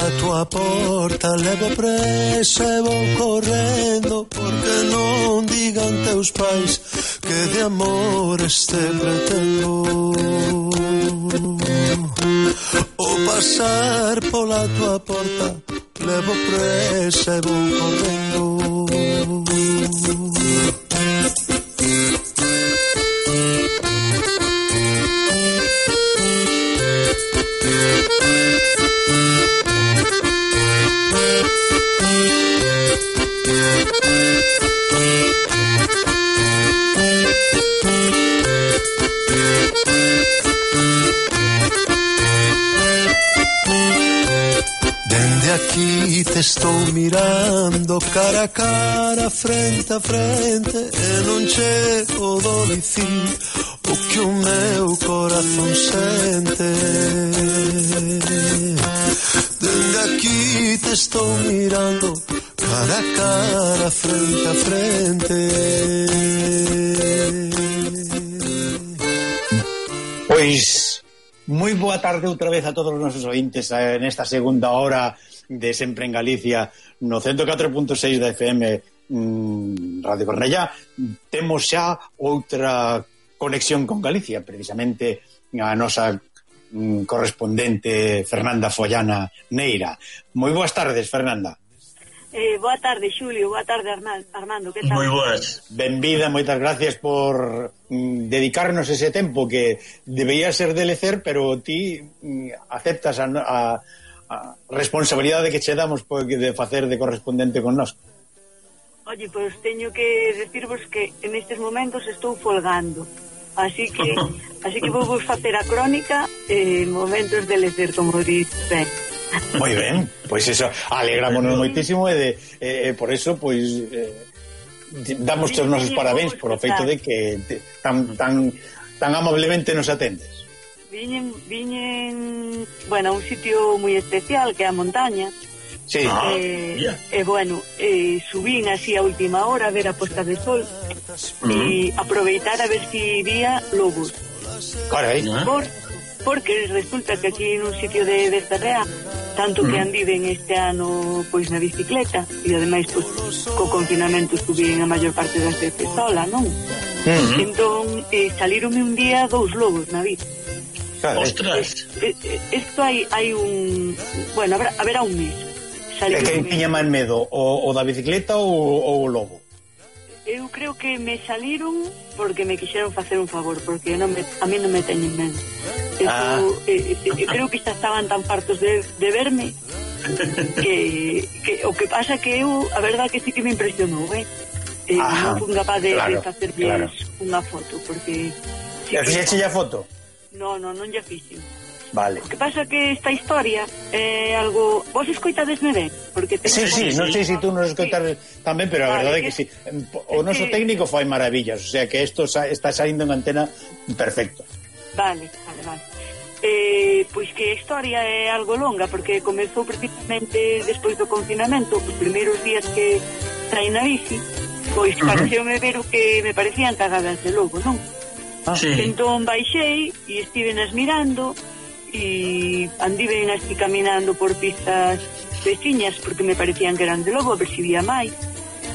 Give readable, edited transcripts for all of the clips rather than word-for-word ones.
pola tua porta, levo presa e vou correndo, porque non digan teus pais que de amores te pretendo. O pasar pola tua porta, levo presa e vou correndo. Dende aquí te estou mirando cara a cara, frente a frente, e non chego do dicir o que o meu corazón sente. Dende aquí te estou mirando cara a cara, frente a frente. Pois moi boa tarde outra vez a todos os nosos ointes nesta segunda hora de Sempre en Galicia no 104.6 da FM Radio Cornellá. Temos xa outra conexión con Galicia, precisamente a nosa correspondente Fernanda Follana Neira. Moi boas tardes, Fernanda. Boa tarde, Xulio. Boa tarde, Armando. Que tal? Moi boas. Benvida, moitas gracias por dedicarnos ese tempo que debería ser de lecer, pero ti aceptas a responsabilidade que che damos de facer de correspondente con nós. Oye, pois teño que decirvos que en estes momentos estou folgando. Así que vou vos facer a crónica en momentos de lecer, como dices ben. Moi ben, pois eso, alegrámonos moitísimo e por eso, pois damos os nosos parabéns por o feito de que tan amablemente nos atendes. Viñen, bueno, a un sitio moi especial que é a montaña. Sí. Bueno, subín así a última hora a ver a posta de sol e aproveitar a ver si vía lobos. Carai. Porque resulta que aquí en un sitio de Ferrea, tanto que andiven este ano pois na bicicleta, e ademais pois co confinamento subín a maior parte das veces sola, non? Entón salíronme un día 2 lobos na bici. Ostras. Isto hai un... Bueno, haberá un mes. É que tiña máis medo, o da bicicleta ou o lobo? Eu creo que me saliron porque me quixeron facer un favor, porque a mí non me teñen medo. Creo que xa estaban tan fartos de verme que o que pasa que eu, a verdad que sí que me impresionou, non fui capaz de facer unha foto, porque... E fixeche a foto? Non lle fixen. Vale. O que pasa que esta historia é algo... Vos escoitadesme ben? Sí, non sei se tú nos escoitades tamén, pero a verdade é que sí. O noso técnico fai maravillas, o sea que isto está saindo en antena perfecto. Vale. Pois que a historia é algo longa, porque comezou precisamente despois do confinamento, os primeiros días que saí na bici, pois pareceume ver o que me parecían cagadas de lobo, non? Sí. Entón baixei e estivenas mirando e andiven así caminando por pistas veciñas porque me parecían que eran de lobo, a ver si vía máis,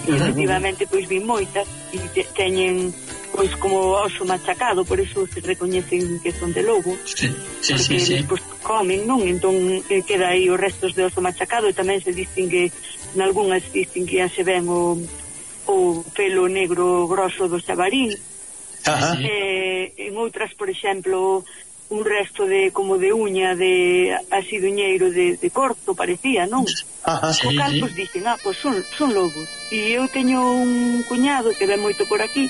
e efectivamente pois vi moitas e teñen pois como oso machacado, por eso se recoñecen que son de lobo. Sí. Despois comen, non? Entón queda aí os restos de oso machacado e tamén se distingue, nalgúnas distinguíase ben o pelo negro grosso do xabarín. En outras, por exemplo, un resto de como de uña de así duñeiro de corto parecía, non? O cal, pois dicen, pois son lobos. E eu teño un cuñado que ven moito por aquí,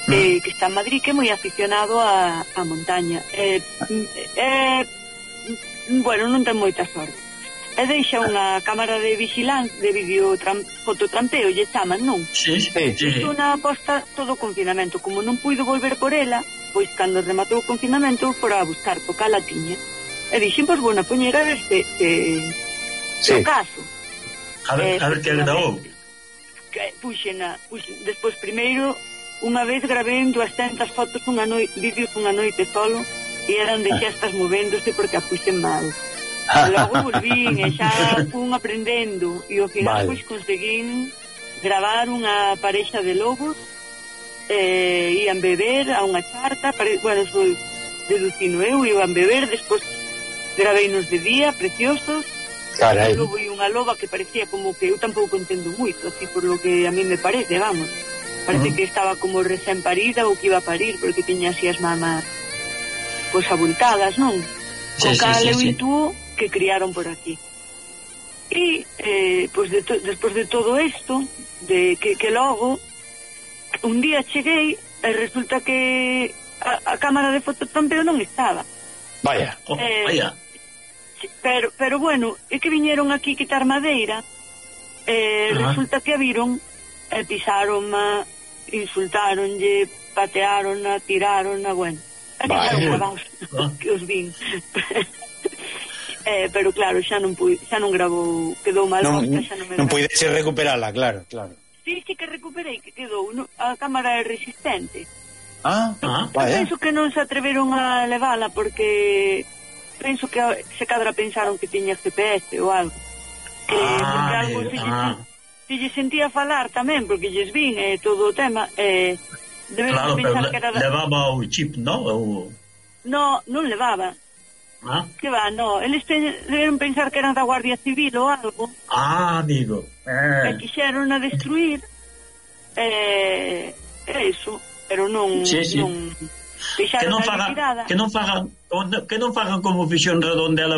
que está en Madrid, que é moi aficionado a montaña. Bueno, non ten moita sorte. E deixa unha cámara de vigilancia, de fototrampeo, lle chaman, non? Sí. Isto na posta todo o confinamento. Como non puido volver por ela, pois cando rematou o confinamento fora a buscar, porque a tiña. E dixen, pois, bueno, poñer a ver se o caso. A ver que grabou. Puxen, despois primeiro, unha vez grabei 200 fotos vídeos unha noite solo, e eran de xestas movéndose porque a puxen mal. Logo volvín e xa fun aprendendo e ao final pois conseguín gravar unha parexa de lobos, ian beber a unha charta, bueno, foi deducino eu, iban beber, despois graveinos de día, preciosos. Carai. Un lobo e unha loba que parecía como que eu tampouco entendo moito, así por lo que a mí me parece, vamos. Parece que estaba como recén parida ou que iba a parir, porque tiña así as mamas pois abultadas, non? Con cal eu intuo que criaron por aquí. E pois despois de todo isto, de que logo un día cheguei e resulta que a cámara de fototampeo non estaba. Vaya. Vaya. Pero bueno, é que viñeron aquí quitar madeira, resulta que a viron e pisaron-ma, insultaronlle, patearon-na, tiraron-na, bueno, que os vin. Pero claro, xa non gravou, quedou mal posta, xa non me non puides recuperala, claro. Sí que recuperei, que quedou, a cámara é resistente. Vaya. Penso que non se atreveron a levala porque penso que se cadra pensaron que tiña GPS ou algo. Porque algo se lle sentía falar tamén, porque lles vin todo o tema, claro, pero levaba o chip, non? Non levaba. Que va, eles deberon pensar que eran da Guardia Civil ou algo. Amigo. E quixeron a destruir, eso, pero non... Que non fagan como fixón Redondela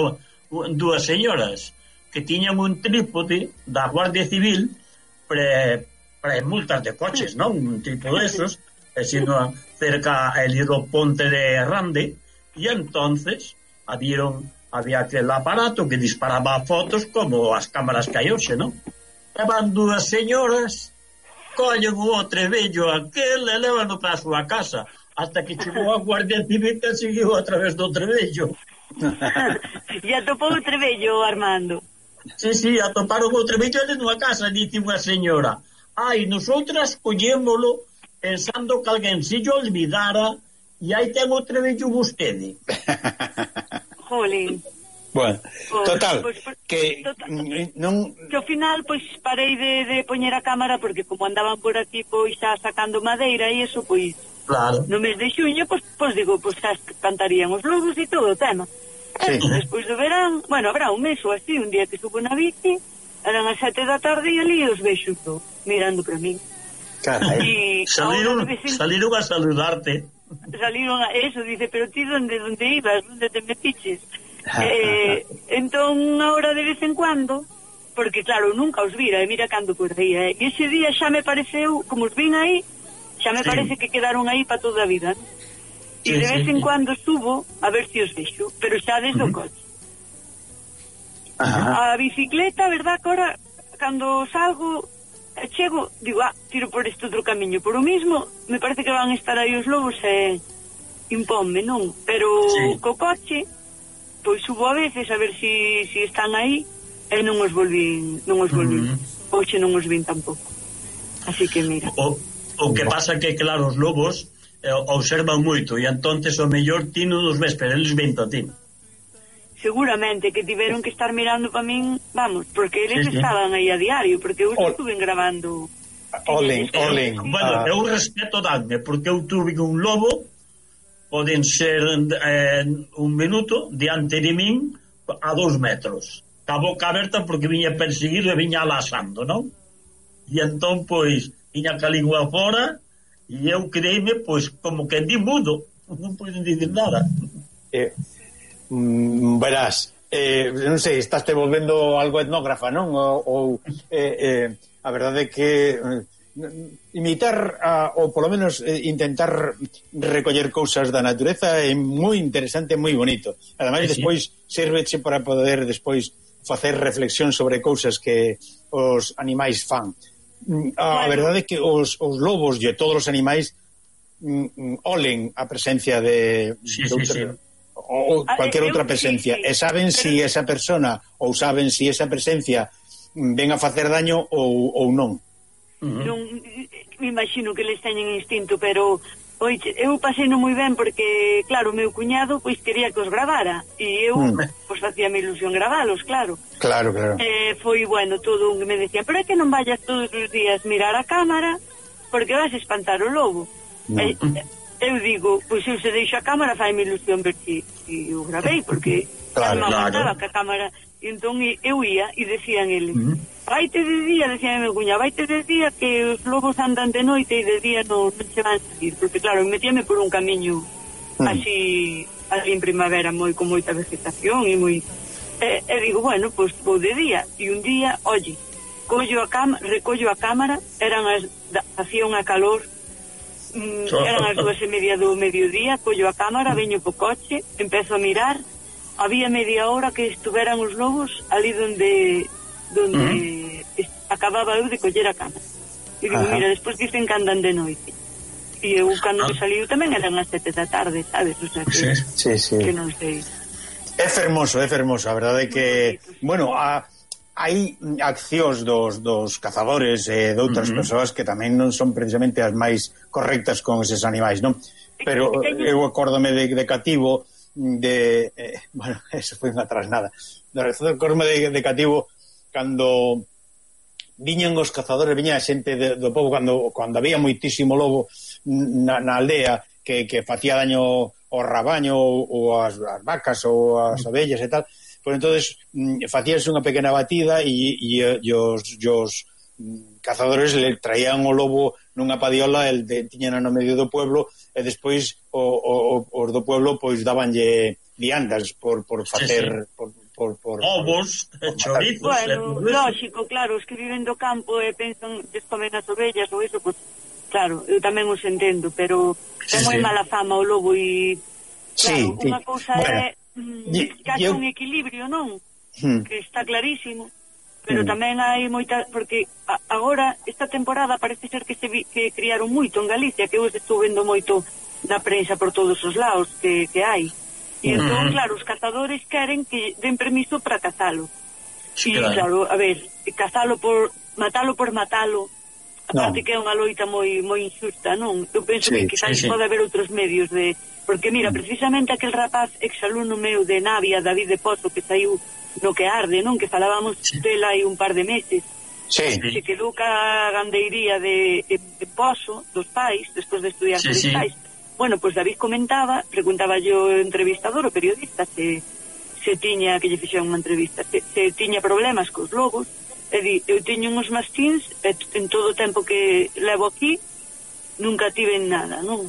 dúas señoras que tiñan un trípode da Guardia Civil para multas de coches, non? Un tipo desos, sino cerca ali do ponte de Rande, e entonces había aquel aparato que disparaba fotos como as cámaras que hai hoxe, non? E van dúas señoras, collen o trebello aquel e levan para a súa casa, hasta que chegou a Guardia Civil que seguiu a través do trebello. E atopou o trebello, Armando. Sí, atoparon o trebello nunha casa, dice unha señora. Nosotras collémolo pensando que alguén se lle olvidara e aí ten o trebello vostede. Jolín. Bueno, total, que non... Que ao final, pois, parei de poñer a cámara porque como andaban por aquí, pois, xa sacando madeira e eso, pois... Claro. No mes de xuño, pois digo, pois xa cantarían os lobos e todo o tema. Sí. Despois do verán, bueno, habrá un mes ou así, un día que subo na bici, eran as 7 da tarde e ali os vexo todo, mirando para mí. Carai. Saliron a saludarte. Saliron a eso, dice, pero ti onde ibas, onde te metiches? Entón, ahora de vez en cuando, porque claro, nunca os vira, e mira cando por aí, e ese día xa me pareceu, como os vin aí, xa me parece que quedaron aí para toda a vida, ¿no? E de vez en cuando subo a ver se os vexo, pero xa desde o coche. A bicicleta, verdad, que ahora cando salgo chego, digo, tiro por este outro camiño, por o mismo me parece que van estar aí os lobos e imponme, non? Pero co coche pois subo a veces a ver si están aí e non os volvín. Hoxe non os vin tampouco, así que mira. O que pasa que, claro, os lobos observan moito e entonces o mellor ti non os ves, pero eles ven a ti. Seguramente que tiveron que estar mirando para min, vamos, porque eles estaban aí a diario, porque eu estuve grabando. Olen. Bueno, eu respeto danme, porque eu tuve un lobo, poden ser un minuto diante de min a 2 metros, ca boca aberta porque viña perseguido e viña alasando, non? E entón, pois, viña ca lingua fora e eu creíme, pois, como que di mudo, non poden dicir nada. Verás, non sei, estás te volvendo algo etnógrafa, non? Ou a verdade é que imitar ou polo menos intentar recoller cousas da natureza é moi interesante, moi bonito. Ademais, despois sérveche para poder despois facer reflexión sobre cousas que os animais fan. A verdade é que os lobos e todos os animais olen a presencia de ou cualquier outra presencia e saben si esa persona ou saben si esa presencia ven a facer daño ou non. Non, me imagino que les teñen instinto, pero o Oiche, eu paseino moi ben porque, claro, o meu cuñado pois quería que os gravara e eu pois facíame ilusión gravalos, claro. Claro. Foi, bueno, todo un que me decía, pero é que non vayas todos os días mirar a cámara porque vas a espantar o lobo. Eu digo, pois eu se deixo a cámara faime ilusión ver si o gravei, porque non me aguantaba que a cámara. E entón eu ia e decían eles, vaite de día, decía meu cuñado, vaite de día que os lobos andan de noite e de día non se van a salir, porque claro, metíame por un camiño así en primavera con moita vegetación e moi... E digo, bueno, pois vou de día, e un día, oye, recollo a cámara, hacía unha calor, eran as 2:30 do mediodía, collo a cámara, veño po coche, empezo a mirar, había media hora que estuveran os lobos ali donde acababa eu de coller a cámara. E digo, mira, despois dicen que andan de noite. E eu, cando que saliu tamén eran as 7 da tarde, sabes? O sea, que non sei. É fermoso, a verdade é que, bueno, hai accións dos cazadores e de outras persoas que tamén non son precisamente as máis correctas con eses animais, non? Pero eu acórdome de cativo bueno, eso foi unha trasnada. Acórdome de cativo cando viñan os cazadores, viña a xente do pobo cando había moitísimo lobo na aldea que facía daño ao rabaño ou as vacas ou as abellas e tal. Pois entonces facíanse unha pequena batida e os cazadores le traían o lobo nunha padiola, tiñan no medio do pueblo e despois os do pueblo pois dabanlle viandas por facer por ovos, chorizos. Bueno, lógico, claro, os que viven do campo e pensan que comen as ovellas ou iso, pois claro, eu tamén os entendo, pero ten moi mala fama o lobo e claro, unha cousa é casi un equilibrio, non? Que está clarísimo, pero tamén hai moita, porque agora esta temporada parece ser que criaron moito en Galicia, que eu estou vendo moito na prensa por todos os lados que hai. E entón, claro, os cazadores queren que den permiso para cazalo. E claro, a ver, matalo por matalo, aparte que é unha loita moi injusta, non? Eu penso que quizás pode haber outros medios de... Porque mira, precisamente aquel rapaz exalumno meu de Navia, David de Pozo, que saiu no que arde, non? Que falábamos dela hai un par de meses. Se quedou ca gandeiría de Pozo, dos pais, despois de estudiar con os pais. Bueno, pois David preguntaba yo o entrevistador, o periodista, se tiña, que lle fixera unha entrevista, se tiña problemas cos lobos, e di, eu teño uns mastíns, en todo o tempo que levo aquí, nunca tiven nada, non?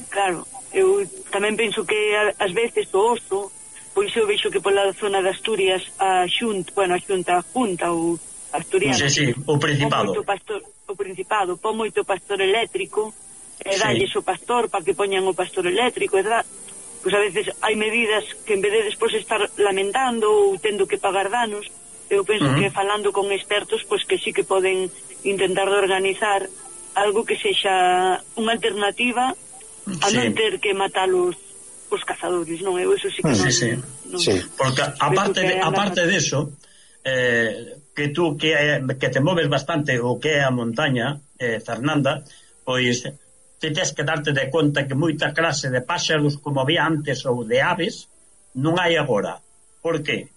Claro, eu tamén penso que ás veces o oso, pois eu vexo que pola zona de Asturias a Junta ou Asturiana, o Principado, o Principado pon moito pastor eléctrico e dalles o pastor para que poñan o pastor eléctrico, pois a veces hai medidas que en vez de despois estar lamentando ou tendo que pagar danos, eu penso que falando con expertos, pois que sí que poden intentar de organizar algo que sexa unha alternativa a non ter que matar os cazadores, non? Eu eso sí que non. Porque aparte de eso, que tú que te moves bastante o que é a montaña, Fernanda, pois te tens que darte de conta que moita clase de páxaros como había antes ou de aves non hai agora. Por qué?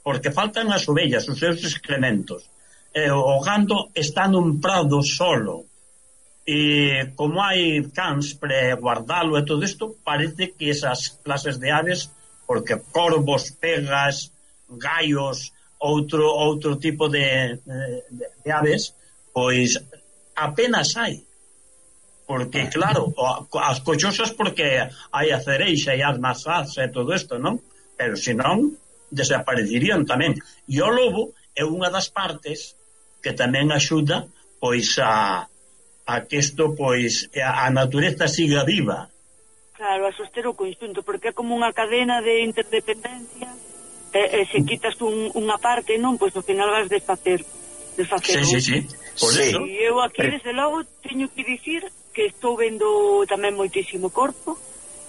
Porque faltan as ovellas, os seus excrementos. O gando está nun prado solo. E como hai cans para guardalo e todo isto, parece que esas clases de aves, porque corvos, pegas, gallos, outro tipo de aves, pois apenas hai. Porque, claro, as cochosas porque hai a cereixa e as masás e todo isto, non? Pero senón, desaparecerían tamén. E o lobo é unha das partes que tamén axuda, pois, a que isto, pois, a natureza siga viva. Claro, a soster o conxunto, porque é como unha cadena de interdependencia, e se quitas unha parte, non, pois ao final vas desfacer. Sí. Por eso. E eu aquí, desde logo, teño que dicir que estou vendo tamén moitísimo corpo.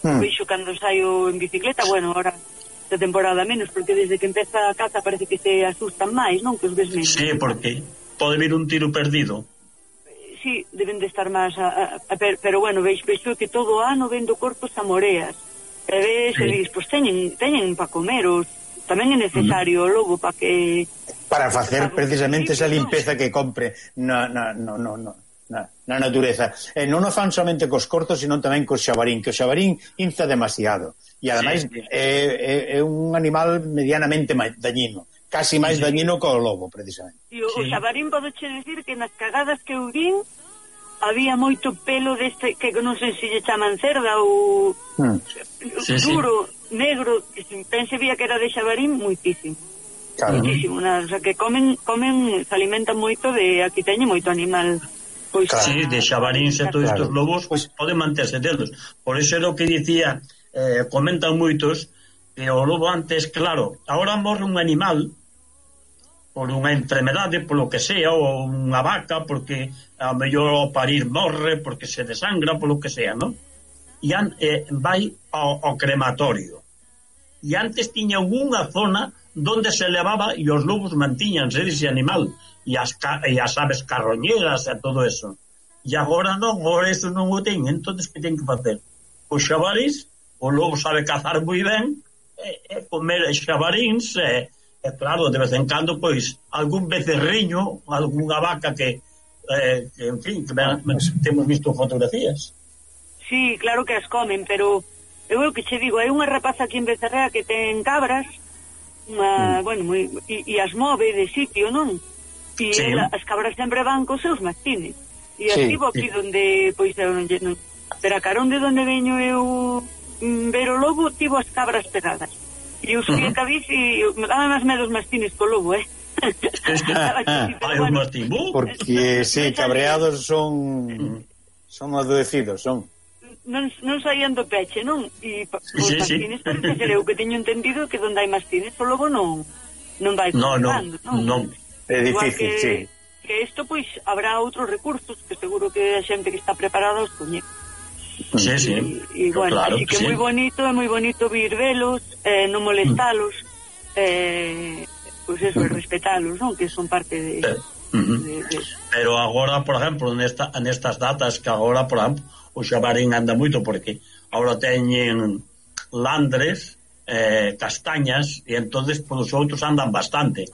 Veixo cando saio en bicicleta, bueno, ahora de temporada menos, porque desde que empeza a caza parece que se asustan máis, non? Que os ves menos. Sí, porque pode vir un tiro perdido. sí, deben de estar máis pero bueno, veixo que todo o ano vendo corpos a moreas. E ves, e dis, pois teñen para comer, tamén é necesario o lobo para que... Para facer precisamente esa limpeza que compre na natureza. Non o fan somente cos cortos, sino tamén cos xabarín, que o xabarín inza demasiado. E ademais é un animal medianamente dañino. Casi máis dañino que o lobo, precisamente. E o xabarín podoche decir que nas cagadas que eu vin había moito pelo deste, que non sei se lle chaman cerda ou duro, negro, que pense vía que era de xabarín, moitísimo. Claro. Moitísimo, o sea, que comen, se alimentan moito de, aquí teñen moito animal. Pois, claro. Sí, de xabarín e todos estes lobos pues, poden manterse delos. Por eso é o que dicía, comentan moitos, que o lobo antes, claro, ahora morre un animal por unha enfermedade, por lo que sea, ou unha vaca, porque a mellor ao parir morre, porque se desangra, por lo que sea, non? E vai ao crematorio. E antes tiña unha zona donde se levaba e os lobos mantíñanse dese animal, e as aves carroñeras e todo eso. E agora non, agora eso non o ten, entonces que ten que facer? Os xabarís, o lobo sabe cazar moi ben, comer xabaríns, e claro, de vez en cando, pois, algún becerriño, algunha vaca que en fin, que temos visto fotografías. Sí, claro que as comen, pero eu o que che digo, hai unha rapaza aquí en Becerrea que ten cabras, bueno, e as move de sitio, non? E as cabras sempre van cos seus mastines. E estivo aquí donde, pois, pero a carón de donde veño eu ver o lobo, tivo as cabras pegadas. E eu subí a cabiz e me daban as medos mastines co lobo, Hai un mastín, porque, sí, cabreados son adoecidos, son. Non saían do peche, non? E os mastines, parece ser eu que teño entendido que donde hai mastines o lobo non vai comprando, non? É difícil, sí. Que isto, pois, habrá outros recursos que seguro que a xente que está preparada os coñece. Sí. E bueno, claro, así que é moi bonito vir velos, non molestalos, pois eso, respetalos, non? Que son parte de... Pero agora, por exemplo, nestas datas que agora, por exemplo, o xabarín anda moito porque agora teñen landres, castañas, e entonces pois os outros andan bastante.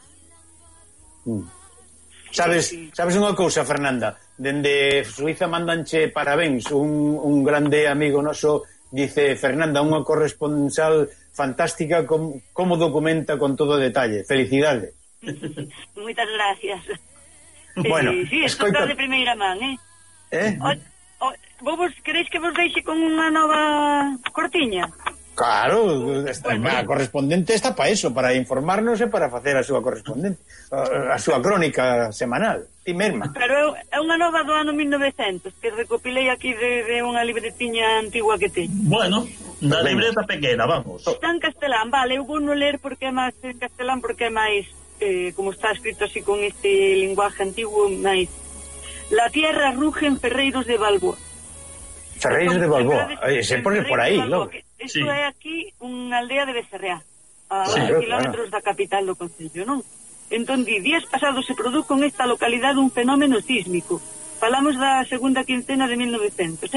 Sabes unha cousa, Fernanda? Dende Suiza mandanche parabéns. Un grande amigo noso dice: Fernanda, unha corresponsal fantástica, como documenta con todo detalle. Felicidades. Moitas gracias. Bueno, sí, isto está de primeira man, vos queréis que vos deixe con unha nova cortiña? Claro, a correspondente está para eso, para informarnos e para facer a súa correspondente, a súa crónica semanal, ti mesma. Pero é unha nova do ano 1900 que recopilei aquí de unha libretiña antigua que teño. Bueno, na libreta pequena, vamos. Está en castelán, vale, eu vou non ler porque é máis en castelán, porque é máis, como está escrito así con este linguaje antiguo, máis. La tierra ruge en Ferreiros de Balboa. Ferreiros de Balboa, se pone por aí, logo. Isto é aquí unha aldea de Becerrea, a 8 kilómetros da capital do concello, non? Entón, días pasados se produjo en esta localidade un fenómeno sísmico. Falamos da segunda quincena de 1900,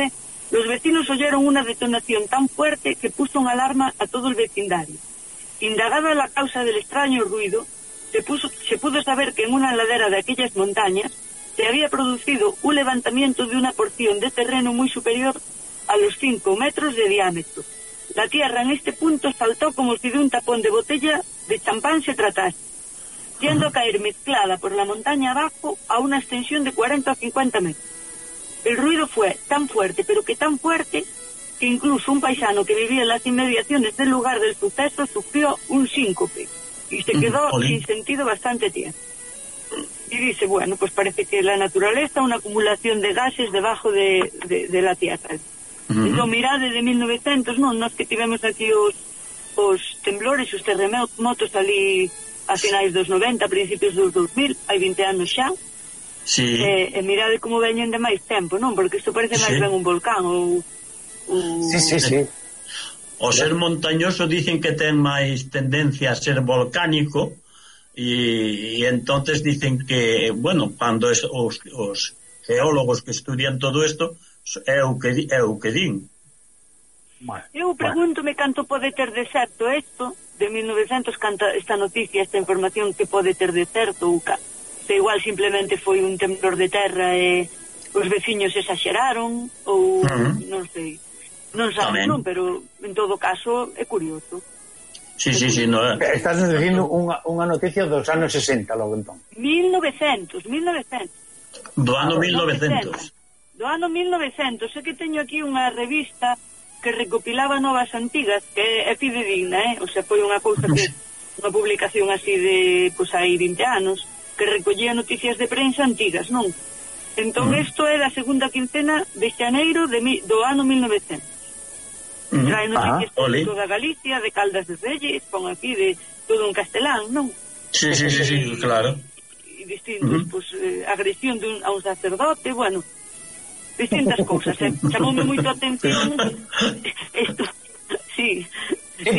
Los vecinos oyeron una detonación tan fuerte que puso en alarma a todo el vecindario. Indagada la causa del extraño ruido, se pudo saber que en una ladera de aquellas montañas se había producido un levantamiento de una porción de terreno muy superior a los 5 metros de diámetro. La tierra en este punto saltó como si de un tapón de botella de champán se tratase, yendo a caer mezclada por la montaña abajo a una extensión de 40 o 50 metros. El ruido fue tan fuerte, pero que tan fuerte, que incluso un paisano que vivía en las inmediaciones del lugar del suceso sufrió un síncope y se quedó sin sentido bastante tiempo. Y dice, bueno, pues parece que la naturaleza, una acumulación de gases debajo de la tierra. Entón, mirade de 1900, non? Nós que tivemos aquí os temblores, os terremotos ali a finais dos 90, a principios dos 2000, hai 20 anos xa. Sí. E mirade como veñen de máis tempo, non? Porque isto parece máis ben un volcán ou... Sí. O ser montañoso dicen que ten máis tendencia a ser volcánico e entonces dicen que, bueno, cando os geólogos que estudian todo isto é o que din. Eu pregúntome canto pode ter de certo isto de 1900, canta esta noticia, esta información que pode ter de certo, ou se igual simplemente foi un temblor de terra e os veciños exageraron, ou non sei, non sabes, non, pero en todo caso é curioso. Sí, no é. Estás dicindo unha noticia dos anos 60, logo entón. 1900. Do ano 1900. Do ano 1900, é que teño aquí unha revista que recopilaba novas antigas, que é fidedigna, o sea, foi unha cousa que unha publicación así de, pois, hai 20 anos, que recollía noticias de prensa antigas, non? Entón, isto é da segunda quincena de xaneiro do ano 1900. Trae noticias de toda Galicia, de Caldas de Reyes, pon aquí de todo un castelán, non? Sí, claro. E distintos, pois, agresión a un sacerdote, bueno, distintas cousas, chamoume moito a atención isto, sí. Sí,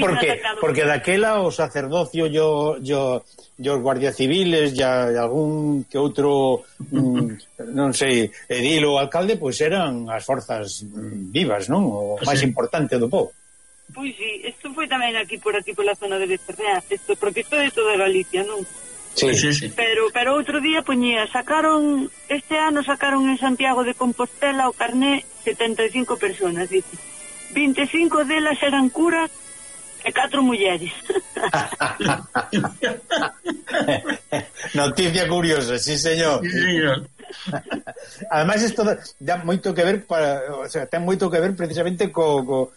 porque daquela o sacerdocio os guardias civiles e algún que outro non sei, edil ou alcalde, pois eran as forzas vivas, non? O máis importante do povo. Pois sí, isto foi tamén aquí pola zona de Becerrea, porque isto é toda Galicia, non? Sí. Pero outro día este ano sacaron en Santiago de Compostela o carné 75 personas, dice. 25 delas eran curas e 4 mulleres. Noticia curiosa, sí, señor. Además, isto dá moito que ver ten moito que ver precisamente coa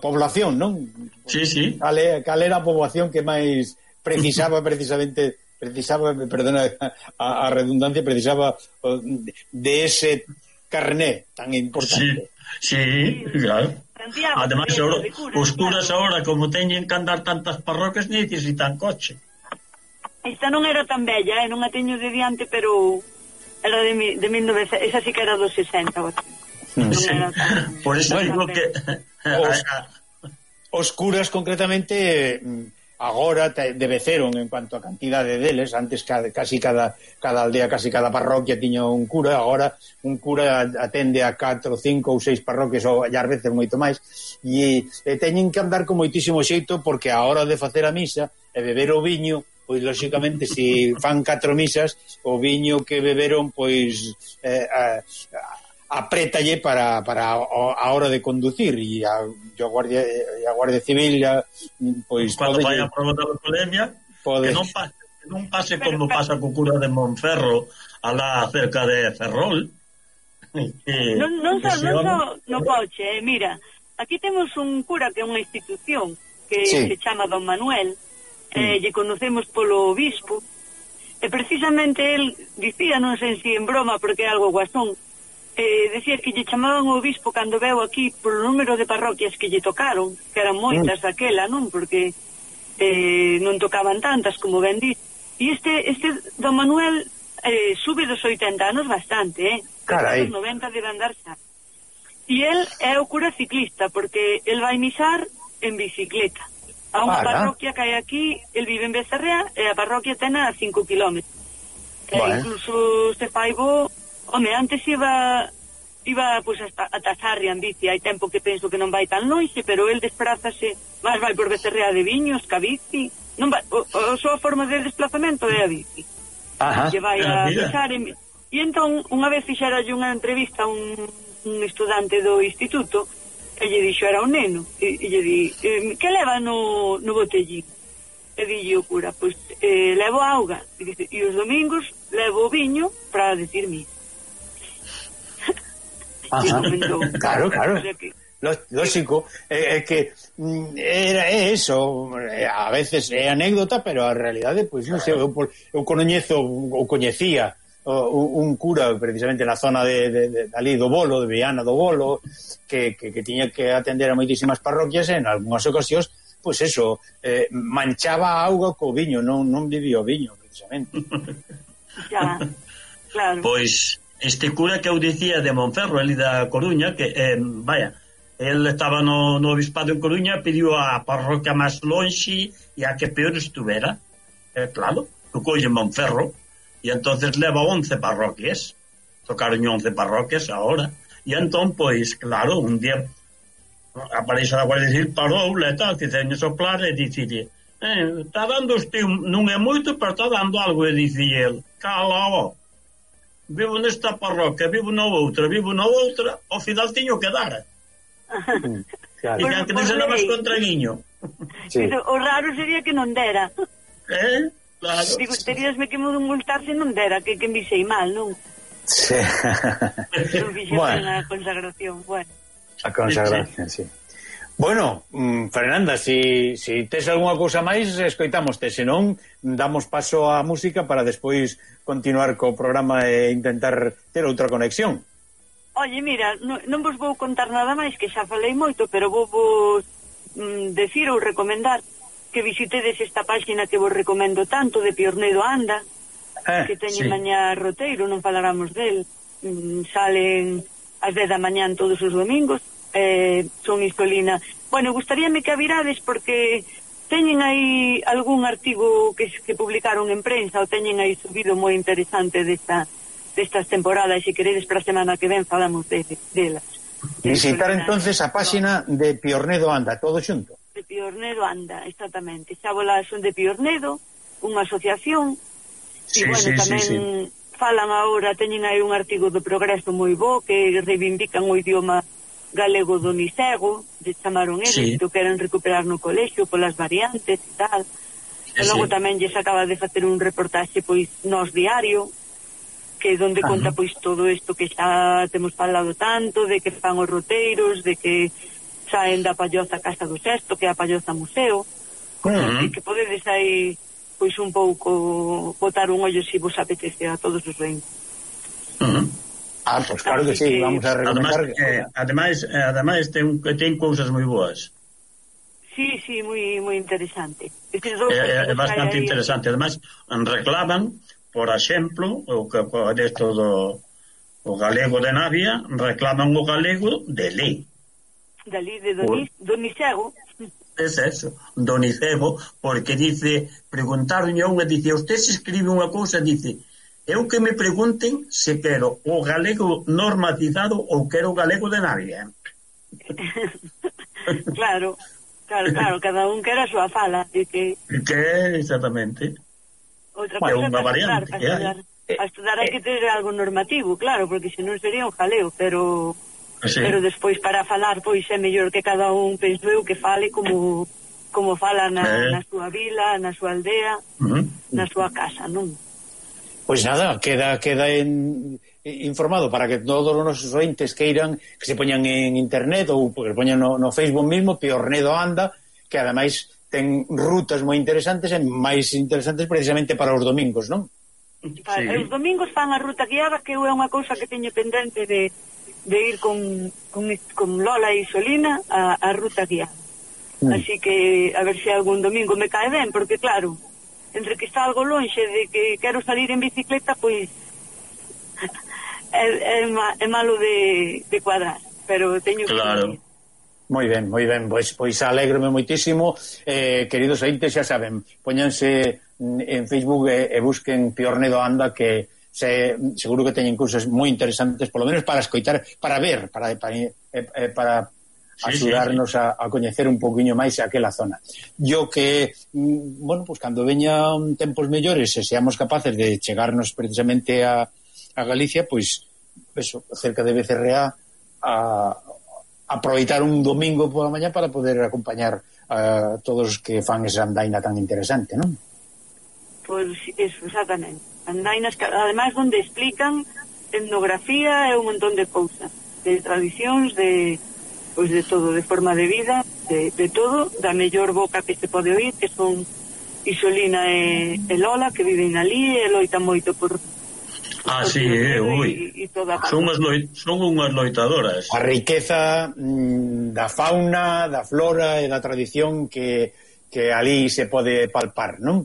población, non? Sí. Cal era a poboación que máis precisaba perdona a redundancia, precisaba de ese carné tan importante. Sí, claro. Además, os curas ahora, como teñen que andar tantas parroquias, necesitan coche. Esta non era tan bella, non a teño de diante, pero era de 1900, esa sí que era dos 60, por eso digo que os curas concretamente agora debeceron en cuanto a cantidade deles. Antes casi cada aldea, casi cada parroquia tiña un cura. Agora un cura atende a 4, 5 ou 6 parroquias, ou ás veces moito máis, e teñen que andar con moitísimo xeito, porque a hora de facer a misa e beber o viño, pois lóxicamente se fan 4 misas, o viño que beberon pois aprétalle para a hora de conducir, e a Guardia Civil pois cando vai a prova da alcoholemia que non pase como pasa co cura de Monferro alá cerca de Ferrol. Non só no coche, mira, aquí temos un cura que é unha institución que se chama Don Manuel, lle conocemos polo obispo, e precisamente el dicía, non sei se en broma porque é algo guasón, decía que lle chamaban o obispo cando veu aquí polo número de parroquias que lle tocaron, que eran moitas daquela, non? Porque non tocaban tantas como ben dito. E este Don Manuel sube dos 80 anos bastante, Carai. Dos 90 debe andar xa. E el é o cura ciclista, porque el vai misar en bicicleta a unha parroquia que hai aquí. El vive en Becerrea e a parroquia ten a 5 km. Incluso se fai bo. Home, antes iba pois ata Sarria en bici. Hai tempo que penso que non vai tan longe, pero el desplázase, máis vai por Becerrea de Viños, que a bici. Non vai, a súa forma de desplazamento é a bici. Que vai a pisar e entón, unha vez fixeralle unha entrevista a un estudante do instituto, e lle dixo, era un neno, e lle di, que leva no botellín? E dille o cura, pois levo auga, e os domingos levo o viño para decir misa. Claro. Lógico, é que é eso, a veces é anécdota, pero a realidade, pois non sei, eu coñecía un cura precisamente na zona de ali do Bolo, de Viana do Bolo, que tiña que atender a moitísimas parroquias, e en algunhas ocasións, pois eso, manchaba a auga co viño, non vivía o viño, precisamente. Ya, claro. Pois este cura que eu dicía de Monferro, ele da Coruña, que, el estaba no obispado en Coruña, pediu a parroquia máis lonxe e a que peor estuvera. Claro, que colle Monferro, e entonces leva 11 parroquias, tocaron 11 parroquias agora, e entón, pois, claro, un día a Parexa da Guardia Civil parou e tal, fixeño soplar e dicille, está dando usted, non é moito, pero está dando algo, e dicille el, cala, vivo nesta parroquia, vivo na outra, ao final tiño que dar. Claro. E que dixen máis contraguiño. Sí. O raro sería que non dera. Claro. Digo, teríasme que multar se non dera, que me sei mal, non? Sí. Non fixen Bueno. a consagración, bueno. A consagración, sí. Bueno, Fernanda, si tes algunha cousa máis, escoitámoste, senón damos paso á música para despois continuar co programa e intentar ter outra conexión. Oye, mira, non vos vou contar nada máis, que xa falei moito, pero vou decir ou recomendar que visitedes esta páxina que vos recomendo tanto, de Piornedo Anda, que teñen mañá roteiro, non falaramos del. Salen ás 10 da mañán todos os domingos, son Isolina. Bueno, gustaríame que a virades porque teñen aí algún artigo que publicaron en prensa, ou teñen aí subido moi interesante destas temporadas, e se queredes para a semana que ven falamos delas. Visitar entonces a páxina de Piornedo Anda, todo xunto. De Piornedo Anda, exactamente. Xábolas son de Piornedo, unha asociación, e bueno, tamén falan agora, teñen aí un artigo do Progreso moi bo, que reivindican o idioma galego do Nisego, chamaron eles, que queren recuperar no colexio polas variantes e tal. E logo tamén lles acaba de facer un reportaxe pois Nós Diario, que donde conta pois todo isto que xa temos falado tanto, de que fan os roteiros, de que saen da Palloza Casa do Sesto, que é a Palloza Museo, e que podedes aí pois un pouco botar un ollo se vos apetece a todos os reinos. Pois claro que sí, vamos a recomendar. Ademais ten cousas moi boas. Sí, moi interesante. É bastante interesante. Ademais, reclaman, por exemplo, o desto do galego de Navia, reclaman o galego de lei. Da lei de Donicego. Es eso, Donicego, porque dice, preguntaron a unha, dice, usted se escribe unha cousa, dice, eu que me pregunten se quero o galego normatizado ou quero o galego de Navia. Claro, cada un quera a súa fala, que exactamente. Outra cousa unha variante que hai. A estudar hai que ter algo normativo, claro, porque senón sería un jaleo, pero despois para falar, pois é mellor que cada un, penso eu, que fale como fala na súa vila, na súa aldea, na súa casa, non? Pois nada, queda informado para que todos os nosos ointes queiran que se poñan en internet ou que se poñan no Facebook mismo, Piornedo Anda, que ademais ten rutas moi interesantes e máis interesantes precisamente para os domingos, non? Os domingos fan a ruta guiada, que é unha cousa que teño pendente de ir con Lola e Isolina a ruta guiada. Así que a ver se algún domingo me cae ben, porque claro, entre que está algo lonxe de que quero salir en bicicleta, pois é malo de cuadrar, pero teño que ir. Moi ben, pois alégrome moitísimo, queridos ointes, xa saben, póñanse en Facebook e busquen Piornedo Anda, que seguro que teñen cousas moi interesantes, polo menos para escoitar, para ver, para axudarnos a coñecer un poquinho máis aquela zona. Yo que, bueno, pues cando veñan tempos mellores e seamos capaces de chegarnos precisamente a Galicia, pois, eso, cerca de Becerreá, a aproveitar un domingo pola mañá para poder acompañar a todos que fan esa andaina tan interesante, non? Pois, eso, exactamente. Andainas, ademais, onde explican etnografía e un montón de cousas, de tradicións, de todo, de forma de vida, de todo, da mellor boca que se pode oír, que son Isolina e Lola, que viven ali e loitan moito por son unhas loitadoras. A riqueza da fauna, da flora e da tradición que ali se pode palpar, non?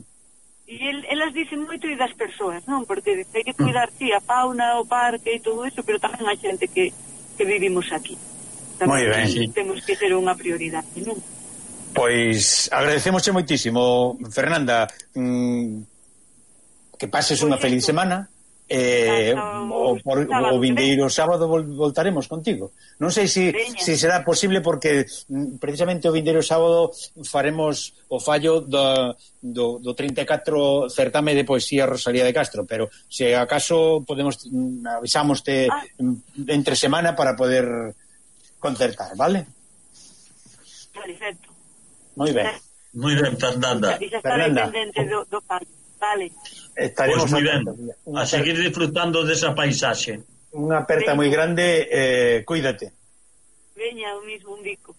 E elas dicen moito e das persoas, non? Porque hai que cuidar, a fauna, o parque e todo eso, pero tamén a xente que vivimos aquí. Moi ben. Temos que ser unha prioridade, non? Pois agradecemosche moitísimo, Fernanda, que pases unha feliz semana. O vindeiro sábado voltaremos contigo. Non sei se será posible, porque precisamente o vindeiro sábado faremos o fallo do 34 certame de poesía Rosalía de Castro, pero se acaso podemos, avisámoste entre semana para poder concertar, vale? Perfecto. Moi ben, Fernanda. Fernanda, vale. Estaremos Pois moi ben, a seguir disfrutando desa paisaxe. Unha aperta moi grande, cuídate. Veña, o mismo, un bico.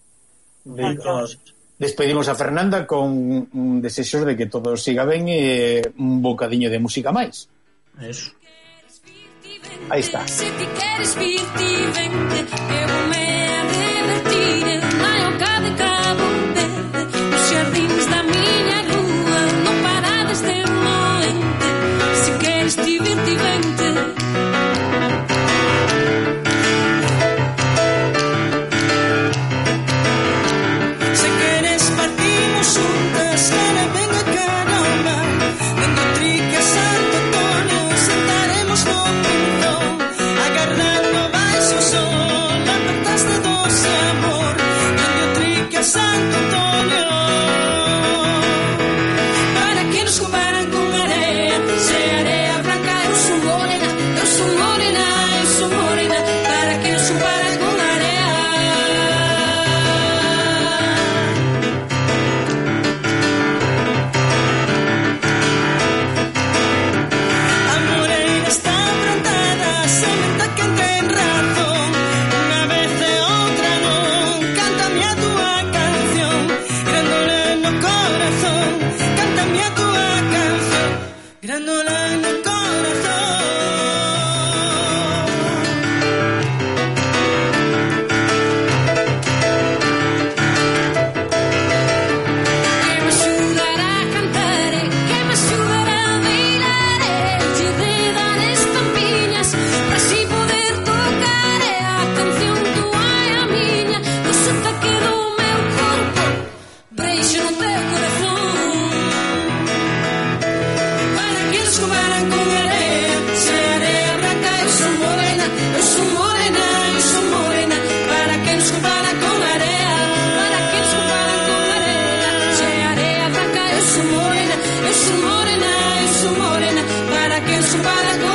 Despedimos a Fernanda con desexos de que todo siga ben e un bocadiño de música máis. Eso. Aí está. Se ti queres vir, ti vente, que vou me divertir na oca de Cabo Verde, nos xardíns da miña rúa, no parades de moente. Se queres ti vir, ti vente. Se queres partimos juntas, cara venga caramba, dando trique a Santo Antonio, sentaremos no pinzón, agarrando baixo o sol, apertas de doce amor, dando trique a Santo Antonio. Para que nos comparan con area, se area branca, eu sou morena, eu sou morena, eu sou morena. Para que nos comparan con area. A moreira está plantada, sementa quen ten razón. Unha vez e outra non, cántame a túa canción, grándola no corazón. Cántame a túa canción, grándola no corazón. Que me axudará a cantar, que me axudará a bailar, che de dar estampiñas, para así poder tocar a canción túa e a miña, no sotaque do meu corpo, breixo no teu corazón. Para que nos comparan con area, se area branca, eu sou morena, eu sou morena, eu sou morena. Para que nos comparan con area, para que nos comparan con area, se area branca, eu sou morena, eu sou morena, eu sou morena. Para que nos comparan con